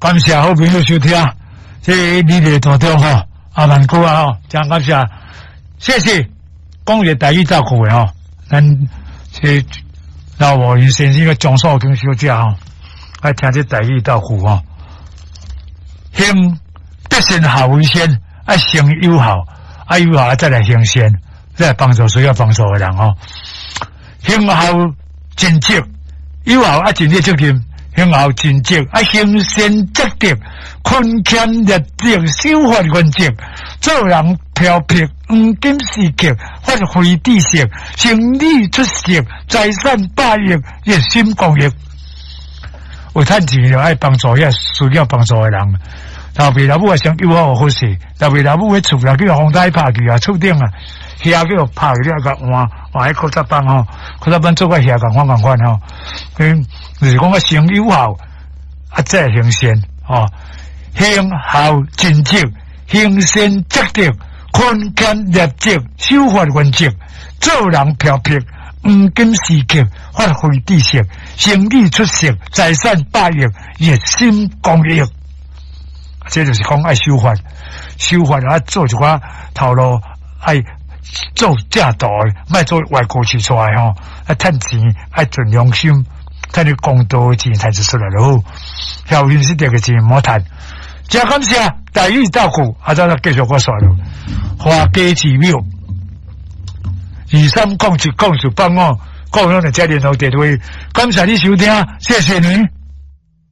感謝好朋友收聽，這你的大中吼，阿萬哥啊吼，真感謝，謝謝，講一個台語造句的吼，咱這老吳因先生個張素卿小姐吼，愛聽這台語造句吼，行得善孝為先，愛先友好，愛友好再來行善，再來幫助需要幫助的人吼，行孝盡職，友好愛盡你責任。行孝盡職，啊，行善積德，勤儉立德，守法原則，做人飄泊，黃金時刻，發揮知識，生理出色，財產百億，熱心公益。有趁錢就愛幫助遐需要幫助的人。老爸老母也先友好好勢，老爸老母彼厝啦，叫風台拍去啊，厝頂啊，遐叫拍去，你愛共換換彼古早板吼，古早板做甲遐仝款仝款吼。嗯，就是講啊，先友好，啊，再行善吼，行孝盡職，行善積德，勤儉立德，守法原則，做人飄泊，黃金時刻，發揮知識，生理出色，財產百億，熱心公益。這就是講愛守法，守法啊，做一寡頭路愛做正道的，莫做歪曲市出來吼。啊，趁錢愛盡良心，趁你公道的錢趁就出來就好。孝順失德的錢毋好趁。真感謝台語造句，啊，咱繼續我煞落。花家寺廟23070485，各位攏會這聯絡電話。感謝你收聽，謝謝你。